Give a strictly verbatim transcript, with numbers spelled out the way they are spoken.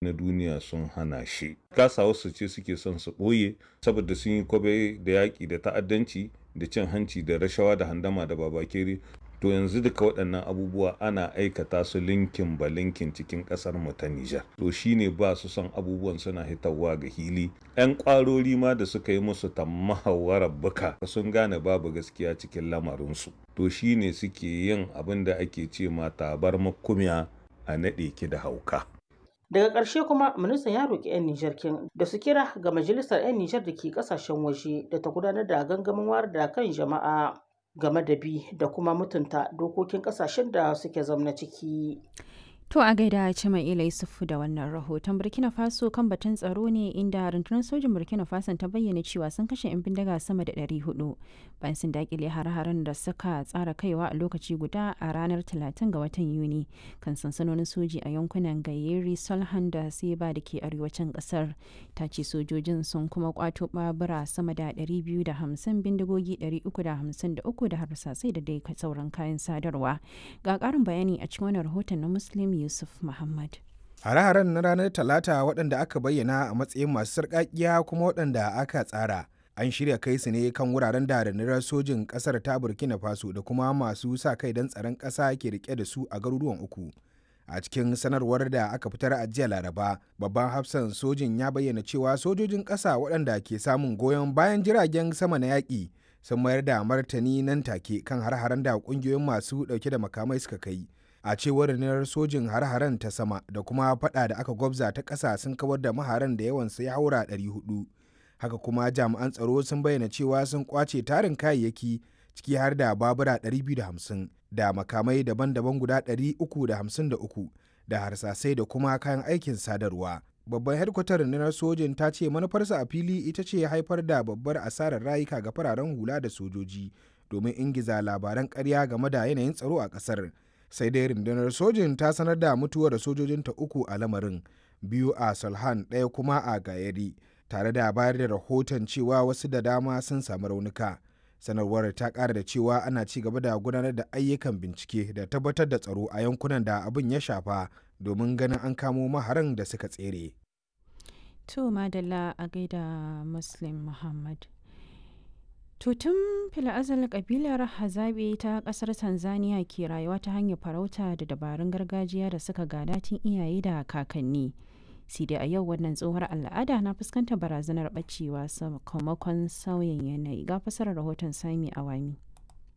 Na duniya sun hana shi. Kasawarsu ce suke son su ɓoye saboda sun yi kwabe da yaƙi da ta'addanci da cin hanci da rashawa da handama da babakere. To yanzu duka waɗannan abubuwa ana aikata su linkin ba linkin cikin ƙasar mu ta Nijar. To shine ba su son abubuwan suna hitawa ga hili. 'Yan ƙwarori ma da suka yi musu tammahawarar buka sun gane babu gaskiya cikin lamarinsu. To shine suke yin abin da ake ce ma tabar makumiya a naɗe ki da hauka. Daga ƙarshe kuma ministan ya roƙi 'yan Nijar kin da su kira ga majalisar 'yan Nijar da ke ƙasashen waje da ta gudanar da gangamin wayar da kan jama'a game da bi da kuma mutunta dokokin ƙasashen da suke zamna ciki. To a gaida Cima'ila Yusufu da wannan rahoton. Burkina Faso kan batun tsaro ne, inda rundunar sojin Burkina Faso ta bayyana cewa sun kashe 'yan bindiga sama da ɗari huɗu bayan sun dakile har-haren da suka tsara kaiwa a lokaci guda a ranar talatin ga watan Yuni kan sansanonin soji a yankunan Gayeri, Solhan da Seba da ke arewacin kasar. Ta ce sojojin sun kuma kwato babura sama da ɗari biyu da hamsin, bindigogi ɗari uku da hamsin da uku da harsasai da dai sauran kayan sadarwa. Ga ƙarin bayani a cikin wannan rahoton na Muslim Yusuf Muhammad. Hare-haren na ranar Talata, waɗanda aka bayyana a matsayin masu sarƙaƙiya kuma waɗanda aka tsara, an shirya kai su ne kan wuraren da rundunar sojin ƙasar ta Burkina Faso da kuma masu sa kai don tsaron ƙasa ke rike da su a garuruwan uku. A cikin sanarwar da aka fitar a jiya Laraba, babban hafsan sojin ya bayyana cewa sojojin ƙasa waɗanda ke samun goyon bayan jiragen sama na yaƙi sun mayar da martani nan take kan har-haren da ƙungiyoyin masu ɗauke da makamai suka kai. A cewar rundunar sojin, har-haren ta sama da kuma fada da aka gwabza ta ƙasa sun kawar da maharan da yawansu ya haura ɗari huɗu. Haka kuma jami'an tsaro sun bayyana cewa sun kwace tarin kayayyaki, ciki har da babura ɗari biyu da hamsin da makamai daban-daban guda ɗari uku da hamsin da uku da harsasai da kuma kayan aikin sadarwa. Babban hedkwatar rundunar sojin ta ce manufarsa a fili ita ce haifar da babbar asarar rayuka ga fararen hula da sojoji domin ingiza labaran ƙarya game da yanayin tsaro a ƙasar. Sai dai rundunar sojin ta sanar da mutuwar sojojinta uku a lamarin, biyu a Solhan, ɗaya kuma a Gayari, tare da bayar da rahoton cewa wasu da dama sun samu raunuka. Sanarwar ta ƙara da cewa ana ci gaba da gudanar da ayyukan bincike da tabbatar da tsaro a yankunan da abin ya shafa domin ganin an kamo maharan da suka tsere. To madalla, a gaida Muslim Muhammad. To tun fila'azal kabilar Hazabe ta kasar Tanzania ke rayuwa ta hanyar farauta da dabarun gargajiya da suka gada tun iyaye da kakanni. Sai dai a yau wannan tsohuwar al'ada na fuskantar barazanar bacewa sakamakon sauyin yanayi. Ga fasarar rahoton Sami Awami.